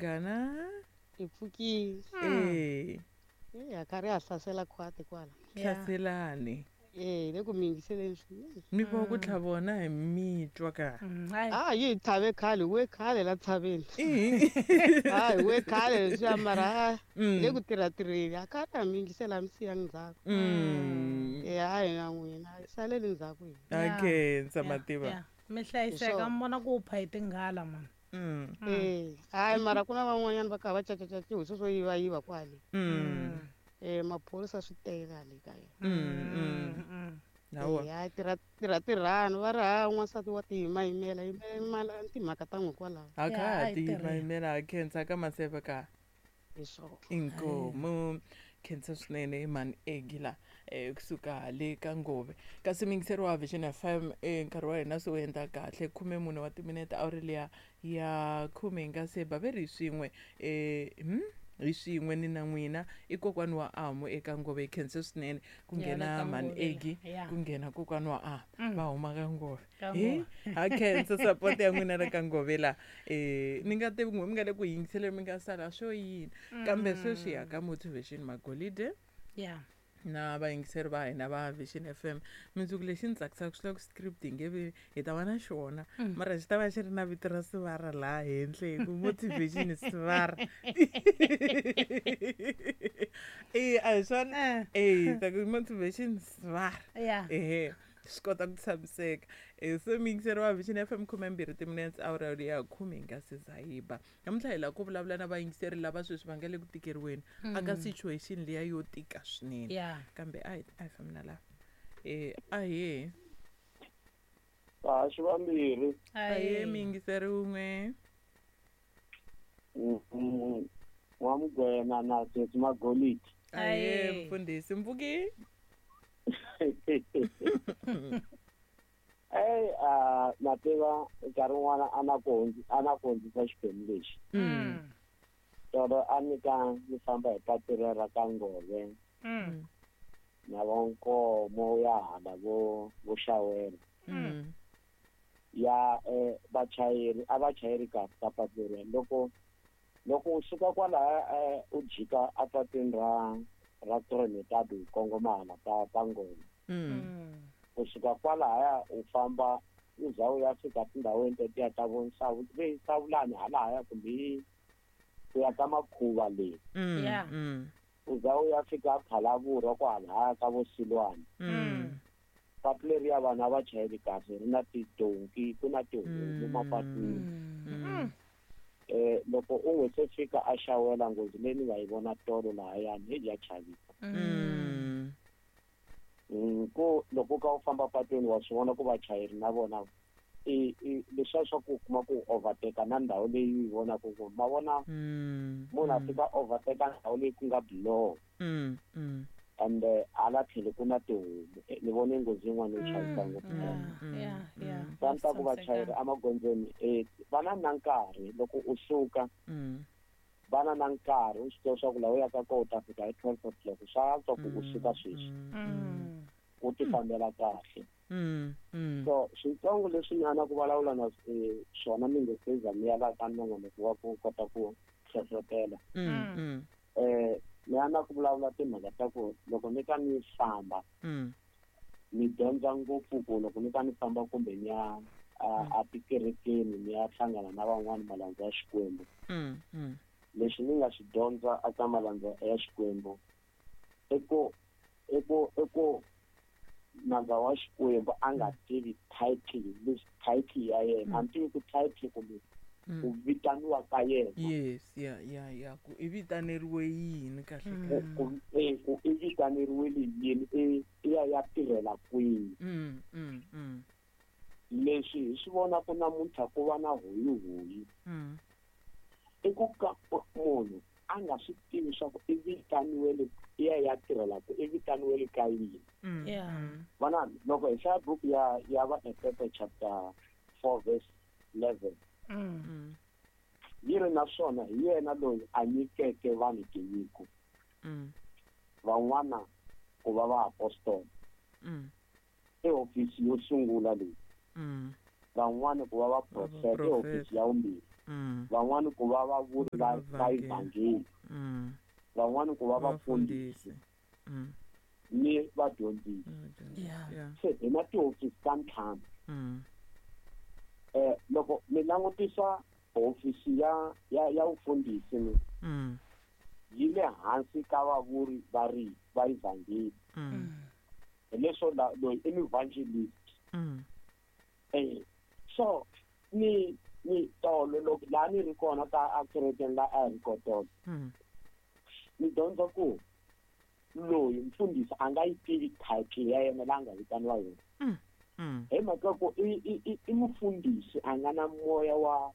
Munghana. Hi pfukile. E. E ha karhi ha hlasela khwati kwala. Hlaselani. E le ku mi yingiseleni swinene. Mi vo ku tlha vona hi mitwa ka. A yi hi tlhave khale, we khale la tshaveni. A hi we khale leswiya mara a le ku tirha-tirheni. A karhi ha mi yingisela a mi siyangi ndzhaku. E a hi na n'wina, hi saleli ndzhaku hina. A khensa mativa. Mi hlayiseka mi vona ku pha hi tinghala mani. E hayi mara ku na van'wanyana va kha va cacacaciwa hi sweswo yivayiva kwale. E maphorisa swi tele hale ka yena. Hawa. E hayi tirha tirha tirhani va ri ha n'wansati wa tiyimayimela yimela timhaka ta n'wi kwalaho. A kha Ya, ha a hi tirheni. tiyimayimela ha khensa ka maseve ka. Hi swona. Inkomu khensa swinene mani egila kusuka le ka Ngove. Kasi miyingiseri wa Vision FM, nkarhi wa hina se wu endla kahle 14 wa timinete awuri liya ya 10 hi nga se ba ve ri hi swin'we hi swin'we ni na n'wina i kokwani wa Amu eka Ngove. Hi khense swinene ku Ya, le nghena ka mani Ngove la. Egi, Ya. ku nghena kokwani wa Amu va huma ka Ngove. Ka He Ngove. ha khensa support ya n'wina le ka Ngove la. Ni nga tivi n'we mi nga le ku yingiseleni mi nga sala swo yini, kambe sweswi ya ka Motivation Magolide. Na vayingiseri va hina va Vision FM, mundzuku lexi ni tsakisaka swi lava ku script hi nge vi hi ta va na xona, mara xi ta va xi ri na vito ra Sivara laha henhla hi ku Motivation Sivara. E a hi swona? E ta ku Motivation Sivara. Ehe, swi kota ku tshamiseka. Se muyingiseri wa Vision FM, 12 timinetse awara ya 10 hi nga se za yi ba. Namuntlha hi lava ku vulavula na vayingiseri lava sweswi va nga le ku tikeriweni aka situation liya yo tika swinene. Kambe a hi a hi fambi na laha. Ahee. Vahaxi vambirhi. Ahee muyingiseri wun'we. N'wamugwena na Sesi Magolidi. Ahee mfundhisi Mpfuki. Ey, na tiva nkarhi wun'wana a na ku hundzi, a na ku hundzisa xiphemu lexi. Tolo a ni ka ni famba hi patu rero ra ka Ngove. Na vo Nkomo ya hala vo Xawela. Ya vachayeri a va chayeri kahle ka patu leriya. Loko u suka kwalaya u jika a patwini ra Trinidad u kongoma hala ka Ngove. U suka kwalaya u famba u za u ya fika tindhawini tetiya ta vo Nsavu, ve Nsavulani halahaya kumbe ku ya ka Makhuva le. U za u ya fika Phalaborwa kwalahaya ka vo Silwana. Patu leriya vanhu a va chayeli kahle, ri na tidonki, ku na tihomu mapatwini. Loko u n'wi se fika a Xawela nghozi leyi ni nga yi vona tolo lahayani, heyi ya chavisa. Ku loko u kha u famba patwini wa swi vona ku vachayeri na vona i leswiya swa ku kuma ku overtake na ndhawu leyi u yi vonaka ku ma vona munhu a fika overtake ndhawu leyi ku nga biloho. And hala tlhelo ku na tihomu. Ni vone nghozi yin'wana yo chavisa ngopfu. Va ni ta ku vachayeri emagondzweni va na na nkarhi loko u suka. Va na na nkarhi u swi tiva swa ku laha u yaka kona u ta fika hi 12 o'clock. Swa antswa ku u suka sweswi. U ti fambela kahle. So switsongo leswi ni ana ku vulavula na swona mi nge se za mi ya laha ka nongonoko wa ku kota ku hlohlotela. Ni ana ku vulavula timhaka ta ku loko ni ka ni famba, ni dyondza ngopfu ku loko ni ka ni famba kumbe ni ya a tikerekeni ni ya hlangana na van'wani malandza ya Xikwembu. Leswi ni nga swi dyondza eka malandza ya Xikwembu i ku nandza wa Xikwembu a nga tivi title, leswi title ya yena. A ni tivi ku title kumbe ku vitaniwa ka yena. Yes, ya, ya, ya, ku i vitaneriwe yini kahle kahle? Ku i vitaneriwe yini, i ya ya tirhela kwini? Leswi hi swi vonaka namuntlha ku va na hoyihoyi. I ku ka munhu a nga swi tivi swa ku i vitaniwele, i ya ya tirhela ku i vitaniwele ka yini. Vana, loko hi hlaya buku ya Vaefesa chapter 4 verse 11. Yi ri naswona hi yena loyi a nyikeke vanhu tinyiko. Van'wana ku va vaapostola. I hofisi yo sungula leyi. Van'wana ku va vaprofeta, i hofisi ya vumbirhi. Van'wani ku va vavuri va evhangeli, van'wani ku va vafundhisi ni vadyondzisi. Se hi na tihofisi ta ntlhanu. Loko mi langutisa hofisi ya vufundhisi ni yi le hansi ka vavuri va va evhangeli. Hi leswo loyi i evangelist. So ni tolo loko laha ni ri kona ka akerekeni la a hi ri kotolo, ni dyondza ku loyi mfundhisi a nga yi tivi title ya yena laha nga vitaniwa yona. Hi mhaka ku i mufundhisi a nga na moya wa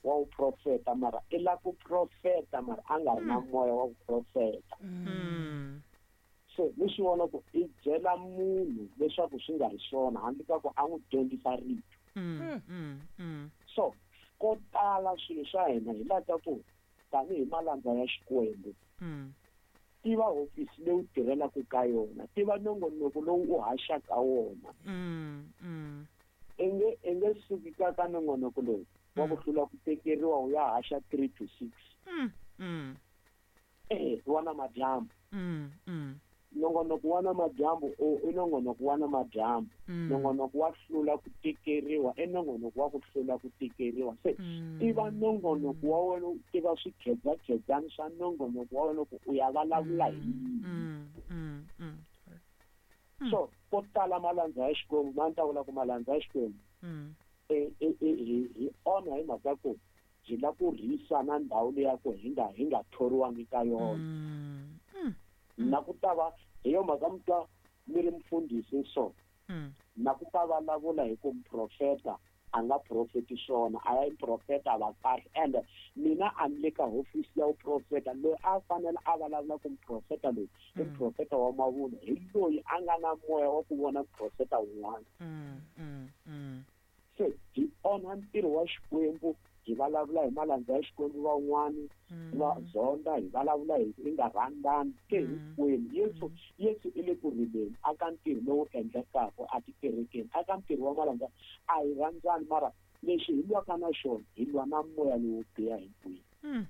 vuprofeta, mara i lava ku profeta mara a nga ri na moya wa vuprofeta. Se ni swi vona ku i byela munhu leswaku swi nga ri swona handle ka ku a n'wi dyondzisa rito. So ko tala swilo swa hina hi laha ka ku tanihi malandza ya Xikwembu, tiva hofisi leyi u tirhelaka ka yona, tiva nongonoko lowu u haxaka wona. I nge suki ka nongonoko lowu wa ku hlula ku tekeriwa u ya haxa 3 to 6. Wa namadyambu. Nongonoko wa namadyambu i nongonoko wa namadyambu. Nongonoko wa hlula ku tekeriwa i nongonoko wa ku hlula ku tekeriwa. Se tiva nongonoko wa wena, u tiva swikhedzakhedzani swa nongonoko wa wena ku u ya vulavula hi yini. So ko tala malandza ya Xikwembu, ma ni ta vula ku malandza ya Xikwembu hi onha hi mhaka ku hi lava ku rhisa na ndhawu leya ku hi nga thoriwangi ka yona. Na ku ta va hi yo mhaka mi twa mi ri mufundhisi so na ku ta vulavula hi ku muprofeta a nga profeti swona, a ya profeta va kahle. Ende mina a ni le ka hofisi ya vuprofeta, loyi a fanele a vulavula ku muprofeta loyi i muprofeta wa mavunwa, hi loyi a nga na moya wa ku vona muprofeta wun'wana. Se hi onha ntirho wa Xikwembu, hi vulavula hi malandza ya Xikwembu van'wani va zonda, hi vulavula hi i nga rhandzani ke hinkwenu. Yesu i le ku rileni aka ntirho lowu endlekaka atikerekeni, aka ntirho wa malandza a hi rhandzani, mara lexi hi lwaka na xona hi lwa na moya lowo biha hinkwenu.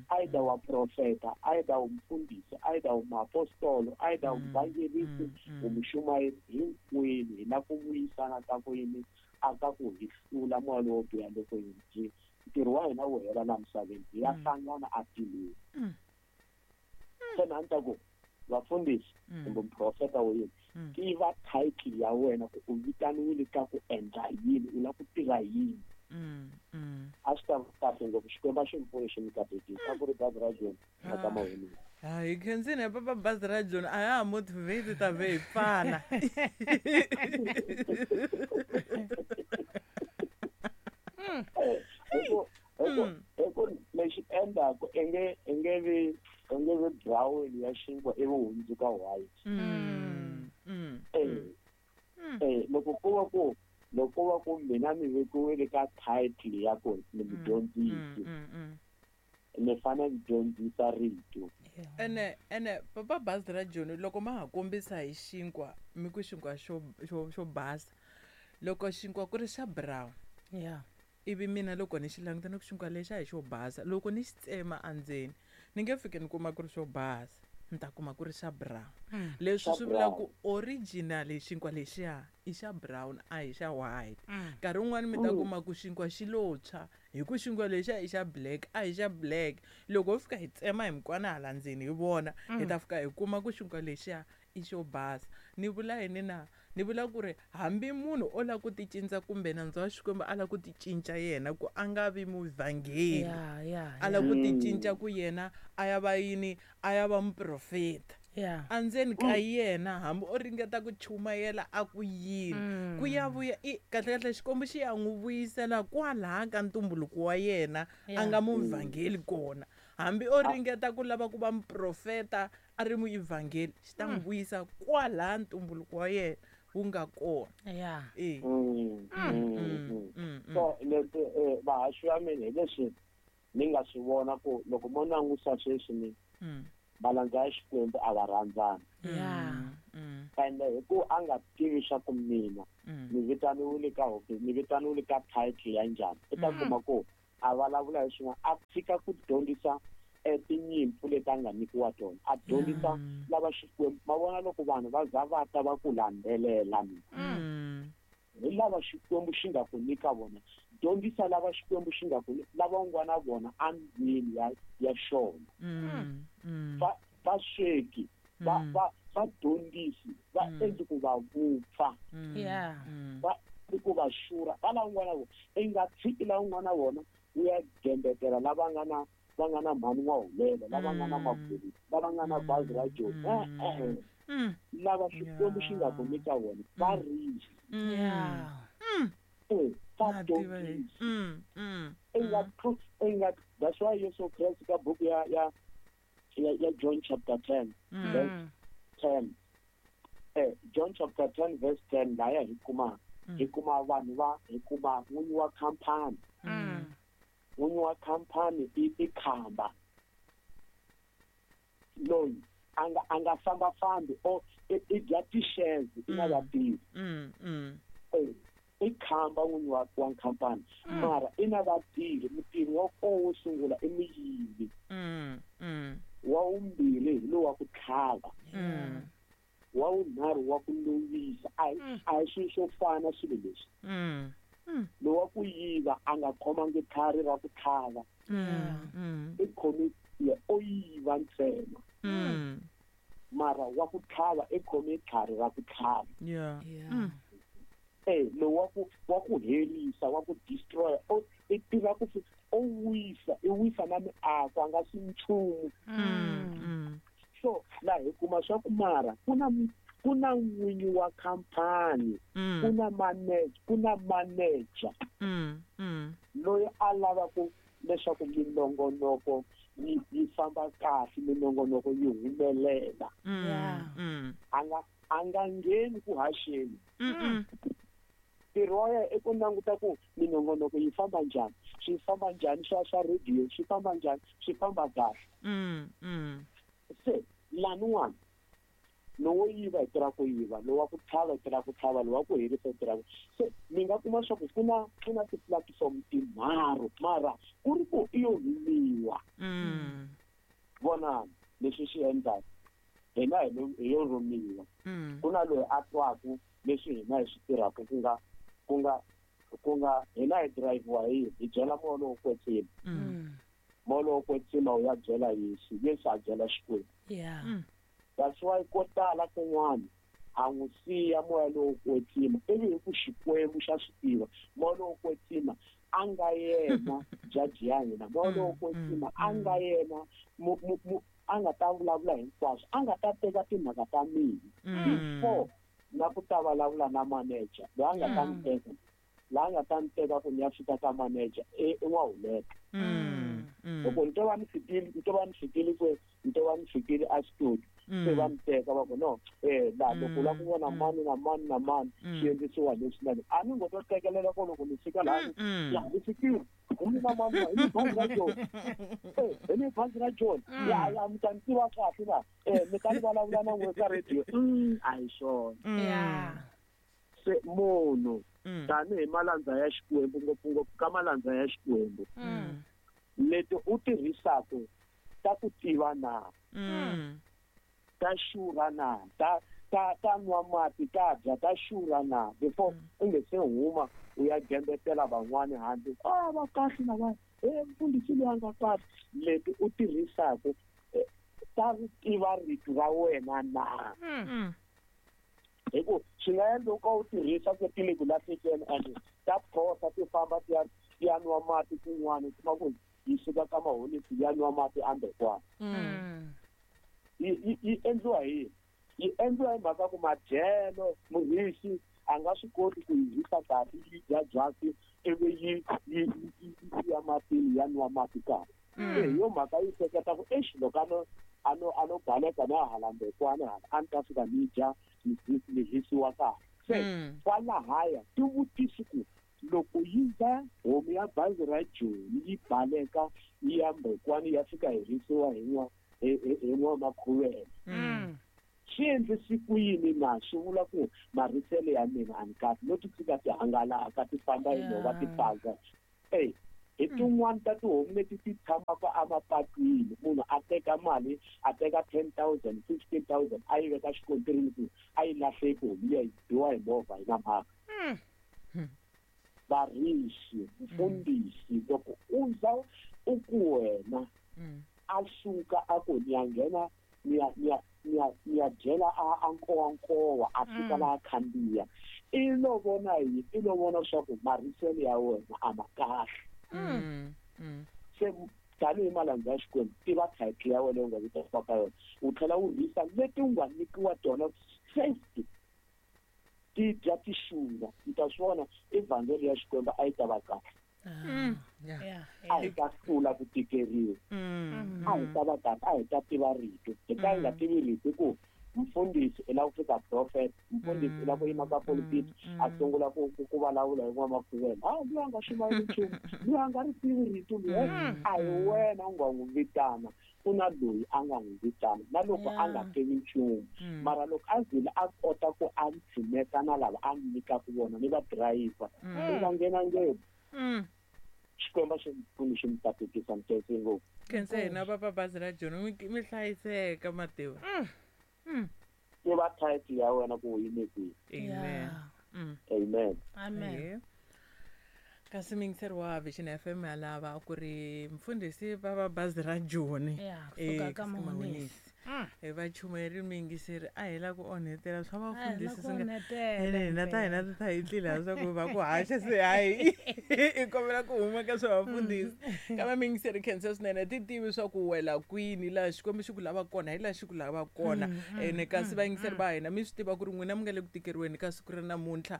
Either wa profeta, either u mufundhisi, either u muapostolo, either u muvangelisi, u muxumayeri, hinkwenu hi la ku vuyisana ka ku yini aka ku hi hlula moya lowo biha loko hi ntirho wa hina wu hela laha misaveni, hi ya hlangana atilweni. Se na ni ta ku vafundhisi kumbe muprofeta wo yini, tiva title ya wena ku u vitaniwile ka ku endla yini, u lava ku tirha yini. A swi ta va kahle ngopfu. Xikwembu a xi mi pfuni xi mi katekisa. A ku ri bazi ra Joni na ka mahungu. Hi khensini papa bazi ra Joni a ya ha motivate ta ve hi pfala. Hi ku lexi endlaku i nge vi brown ya xinkwa ivi hundzuka white. Loko ku va ku mina ni vekiwile ka title ya ku ni mudyondzisi, ni fanele ni dyondzisa rito. Ene papa bazi ra Joni loko ma ha kombisa hi xinkwa, mi ku xinkwa xo basa, loko xinkwa ku ri xa brown, ivi mina loko ni xi languta ni ku xinkwa lexi a hi xo basa, loko ni xi tsema endzeni ni nge fiki ni kuma ku ri xo basa, ni ta kuma ku ri xa brown. Leswi swi vula ku original xinkwa lexiya i xa brown a hi xa white. Nkarhi wun'wani mi ta kuma ku xinkwa xi lo tshwa, hi ku xinkwa lexiya i xa black a hi xa black. Loko ho fika hi tsema hi mikwana hala ndzeni hi vona, hi ta fika hi kuma ku xinkwa lexiya i xo basa. Ni vula yini na? Ni vula ku ri hambi munhu o lava ku ti cinca kumbe nandzu wa Xikwembu a lava ku ti cinca yena ku a nga vi muvhangeli, a lava ku ti cinca ku yena a ya va yini, a ya va muprofeta. Andzeni ka yena hambi o ringeta ku chumayela a ku yini, ku ya vuya kahle kahle Xikwembu xi ya n'wi vuyisela kwalaha ka ntumbuluko wa yena a nga muvhangeli kona. Hambi o ringeta ku lava ku va muprofeta a ri muevhangeli, xi ta n'wi vuyisa kwalaha ntumbuluko wa yena wu nga kona. So leswi vahaxi va mina hi leswi ni nga swi vona ku loko mo langusa sweswi ni Malandza ya Xikwembu a va rhandzani. Ende hi ku a nga tivi swa ku mina ni vitaniwile ka hofisi, ni vitaniwile ka title ya njhani, i ta kuma ku a vulavula hi swin'wana, a tshika ku dyondzisa tinyimpfu leti a nga nyikiwa tona, a dyondzisa lava Xikwembu. Ma vona loko vanhu va za va ta va ku landzelela mina, hi lava Xikwembu xi nga ku nyika vona, dyondzisa lava Xikwembu xi nga ku lava u nga na vona endlwini ya xona. Va sweki, va dyondzisi, va endli ku va vupfa, va ku va xura, va lava un'wana vona. I nga tshiki lava un'wana vona u ya gembetela lava nga na mhani wa hulela, lava nga na mabulu, lava nga na bazi ra Joni. Lava Xikwembu xi nga ku nyika vona va risi. Va dyondzisi. That's why Yesu Kreste ka buku ya John chapter 10 verse 10. John chapter 10 verse 10 laya hi kuma vanhu va hi kuma n'winyi wa khampani. N'winyi wa khampani i khamba loyi a nga fambafambi o i dya ti-shares i na vatirhi. I khamba n'winyi wa khampani, mara i na vatirhi. Mutirhi wa koho wo sungula i muyivi, wa vumbirhi hi lowa ku tlhava, wa vunharhu wa ku lovisa. A hi swilo swo fana swilo leswi. Lowa ku yiva a nga khomangi tlhari ra ku tlhava, i khomi o yiva ntsena, mara wa ku tlhava i khomi tlhari ra ku tlhava. Lowu wa ku herisa, wa ku destroy, i tiva ku o wisa, i wisa na miako, a nga si nchumu. So laha hi kuma swa ku mara ku na n'winyi wa khampani, ku na manager loyi a lavaku leswaku minongonoko yi famba kahle, minongonoko yi humelela. A nga ngheni ku haxeni. Ntirho wa yena i ku languta ku minongonoko yi famba njhani, swi famba njhani swa radio, swi famba njhani, swi famba kahle. Se laniwani lowo yiva hi tirha ku yiva, lowa ku tlhava hi tirha ku tlhava, lowa ku herisa hi tirha ku. Se mi nga kuma swa ku ku na ti-platform tinharhu, mara ku ri ku i yo rhumiwa. Vonani leswi swi endlaka hina hi yo rhumiwa. Ku na loyi a twaku leswi hina hi swi tirhaka, ku nga hina hi driviwa hi byela moya lowo kwetsima. Moya lowo kwetsima wu ya byela Yesu, Yesu a byela Xikwembu. That's why ko tala kun'wana a n'wi siya moya lowo kwetsima, ivi hi ku Xikwembu xa swi tiva. Moya lowo kwetsima a nga yena jaji ya hina, moya lowo kwetsima a nga yena a nga ta vulavula hinkwaswo, a nga ta teka timhaka ta mina before na ku ta vulavula na manager loyi a nga ta ni teka, laha nga ta ni teka ku ni ya fika ka manager i n'wahuleka. Loko ni to va ni fikile kwe, ni to va ni fikile a studio, se va ni teka va ku no, laha loko u lava ku vona mani na mani na mani swi endlisiwa leswi na leswi. A ni ngo to tekelela ko loko ni fika laha ya ni fikile, hi ni na mani, hi ni bazi ra Joni, hi ni bazi ra Joni, ya mi ta ni tiva kahle na mi ta ni vulavula na n'we ka radio. A hi swona. Se munhu tanihi malandza ya Xikwembu, ngopfungopfu ka malandza ya Xikwembu, leti u tirhisaka ta ku tiva na, ta xurha na, ta nwa mati, ta dya, ta xurha na, before u nge se huma u ya gembetela van'wani handle. Va kahle lava, mfundhisi loyi a nga kahle. Leti u tirhisaka ta ri tiva rito ra wena na. Hi ku swi nga endla u ka u tirhisa ku ti le ku lahlekeni, and ta phosa ti famba ti ya nwa mati kun'wana, u kuma ku yi suka ka maholisi ya nwa mati ambekwana. Yi endliwa hi yini? Yi endliwa hi mhaka ku madyelo murisi a nga swi koti ku yi hisa kahle, yi dya byasi ivi yi ya matini ya nwa mati kahle. Hi yo mhaka yi hleketa ku exi loko a no baleka na hala mbekwana hala a ni ta fika ni dya ni hisiwa kahle. Se kwalahaya ti vutisi ku loko yi za homu ya bazi ra Joni yi baleka yi ya mbekwana ya fika herisiwa hi hi n'wamakhuvela. Swi endlisi ku yini na swi vula ku marisele ya mina a ni kahle no ti tshika ti hangalaka ti famba hi nhova ti pandza. Ey, hi tin'wani ta tihomu leti ti tshamaka emapatwini, munhu a teka mali, a teka 10,000, 15,000 a yi veka xikontirini ku a yi lahleki homu liya yi biwa hi movha yi na mhaka. Varisi, mfundhisi, loko u za u ku wena a suka a ku ni ya nghena ni ya dyela a nkowankowa a fika laha khandziya, i lo vona yini? I lo vona leswaku mariselo ya wena a ma kahle. Se tanihi malandza ya Xikwembu, tiva title ya wena u nga vitaniwa ka yona, u tlhela u rhisa leti u nga nyikiwa tona first, ti dya ti xurha. Mi ta swi vona evhangeli ya Xikwembu a yi ta va kahle. A hi ta hlula ku tikeriwa, a hi ta va kahle, a hi ta tiva rito. Hi ka hi nga tivi rito ku mfundhisi i lava ku fika prophet, mfundhisi i lava ku yima ka politiki, a sungula ku vulavula hi n'wamakhuvela. Ha, loyi a nga xumayeli nchumu, loyi a nga ri tivi rito loyi, a hi wena u nga n'wi vitana, ku na loyi a nga n'wi vitana na loko a nga tivi nchumu. Mara loko a zile a kota ku a tshineta na lava a nyikaka vona ni va driver, u nga nghena ngopfu. Xikwembu xi pfuni xi mi katekisa mutetse ngopfu. Khensa hina papa bazi ra Joni, mi hlayiseka mativa. Tiva title ya wena ku u yime kwihi. Amen. Amen. Amen. Kasi miyingiseri wa Vision FM ya lava ku ri mfundhisi papa bazi ra Joni. Kusuka ka Mahonisi. Va chumayeri miyingiseri a hi la ku onhetela swa vafundhisi swi nga hina ta hina ta hi tlela leswaku va ku haxa se hayi i kombela ku huma ka swa vafundhisi. Kambe miyingiseri khensa swinene, ti tivi swa ku wela kwini laha Xikwembu xi ku lava kona, hi laha xi ku lava kona. Ene kasi vayingiseri va hina mi swi tiva ku ri n'wina mi nga le ku tikeriweni ka siku ra namuntlha,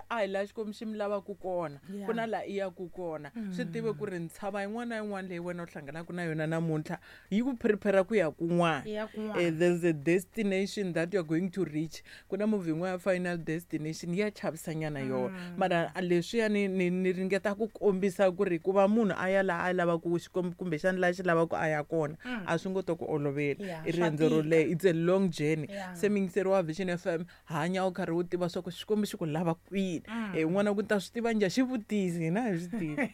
a hi laha Xikwembu xi mi lavaka kona, ku na laha i yaku kona. Swi tive ku ri ntshava yin'wana na yin'wana leyi wena u hlanganaka na yona namuntlha yi ku prepare ku ya kun'wana. There's a destination that you're going to reach. Ku na movie yin'wana ya Final Destination ya chavisanyana yona. Mara leswiya ni ringeta ku kombisa ku ri ku va munhu a ya laha a lavaka Xikwembu kumbexana laha xi lavaka a ya kona, a swi ngo to ku olovela. I riendzo ro leha, it's a long journey. Se miyingiseri wa Vision FM, hanya u karhi u tiva swa ku Xikwembu xi ku lava kwini. N'wana ku ta swi tiva njhani, xi vutisi, hina hi swi tivi.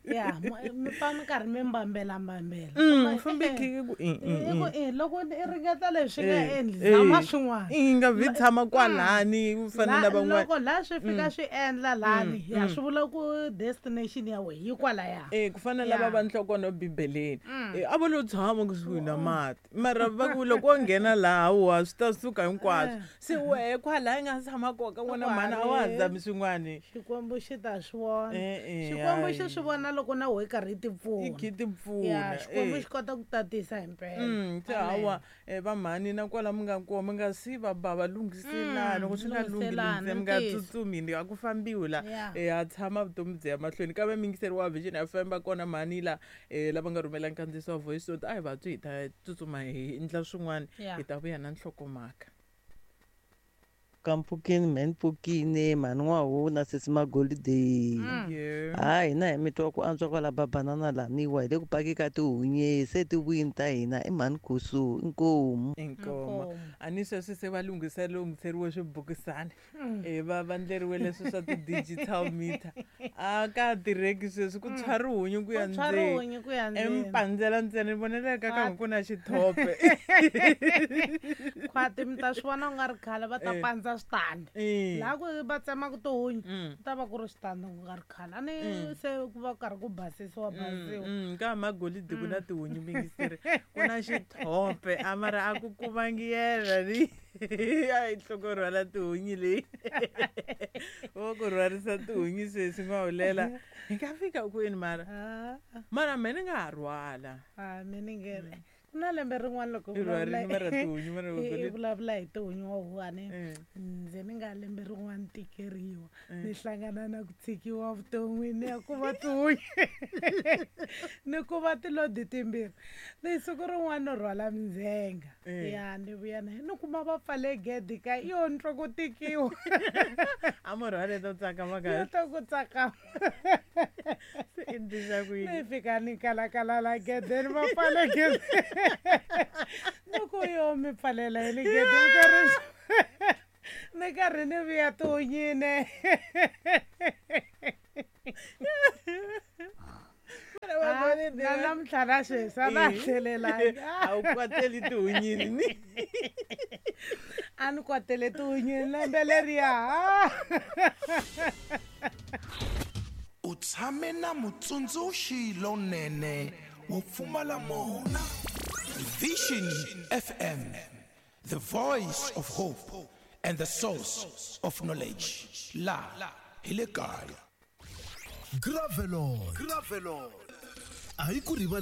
Ya, mi pfa mi karhi mi mbambela mbambela. Fambi khi ku i loko i ringeta leswi nga endli, zama swin'wana. I nga vi tshama kwalani u fana na van'wana. Loko laha swi fika swi endla lani, ya swi vula ku destination ya wena yi kwalaya. Ku fana lava va nhlokono Bibeleni. A va lo tshama kusuhi na mati. Mara va ku loko wo nghena laha wa swi ta suka hinkwaswo. Se wehe kwalaya i nga tshama kona ka n'wana mhani a wa ha zami swin'wani. Xikwembu xi ta swi vona. Xikwembu xi swi vona loko na wehe karhi ti pfuna. I khi ti pfuna. Xikwembu xi kota ku tatisa himpela. Se hawa va mhani na kwala mi nga kona mi nga si va ba va lunghiselana, loko swi nga lunghi mi nga tsutsumi, a ku fambiwi la. Ha tshama vutomi byi ya mahlweni. Kambe miyingiseri wa Vision FM va kona mhani la lava nga rhumela nkandziyiso wa voice note, a hi va twi hi ta tsutsuma hi endla swin'wana, hi ta vuya na nhlokomhaka. Kampfukini, mhani mhani N'wahu na sesi Magolide. Ha hina hi mi twa ku antswa kwala babanana laniwa hi le ku paki ka tihunyi se ti vuyini ta hina i mhani Khusu inkomu. Inkomu. A ni sweswi se va lunghiseriwe swibukisana. Va vandleriwe leswi swa ti-digital meter. A ka tirheki sweswi ku tshwa rihunyi ku ya ndzeni. Empandzela ntsena ni vonela ka ka ku na xithope. Khwati mi ta swi vona ku nga ri khale va ta pandza switandi. Laha ku va tsemaka tihunyi, ku ta va ku ri switandi ku nga ri khale. A ni se ku va karhi ku basisiwa basisiwa. Ka Magolide ku na tihunyi mingiseri, ku na xithope, a mara a ku kumangi yena ni. A yi nhloko rhwala tihunyi leyi. Vo ku rhwarisa tihunyi sweswi N'wahulela. Hi nga fika kwini mara? Mara me ni nga ha rhwala. Me ni nge ku na lembe rin'wana loko I rhwarile mara tihunyi mara i vulavula hi tihunyi wa huwani, ndzi ni nga lembe rin'wana tikeriwa, ni hlangana na ku tshikiwa vuton'wini ya ku va tihunyi. Ni kuma tilodi timbirhi. Ni siku rin'wana ni rhwala mindzhenga. Ya ni vuya na ni kuma va pfale gede ka yo ni twa ku tikiwa. A mo rhwale to tsakama Yo kahle. twa ku tsakama. Se endlisa ku Ni yini? fika ni kalakala la gedeni va pfale gede. Ni ku yo mi pfalela yini gede ni karhi ni karhi ni vuya tihunyini. Na namuntlha na sweswi a na ha tlhelelangi. A wu kwateli tihunyini ni. A ni kwatele tihunyini lembe leriya. U tshame na mutsundzuxi lonene wo pfumala mona. Vision FM, the voice of hope and the source of knowledge. La hi le kaya. Gravelon. Gravelon. A hi ku rivali.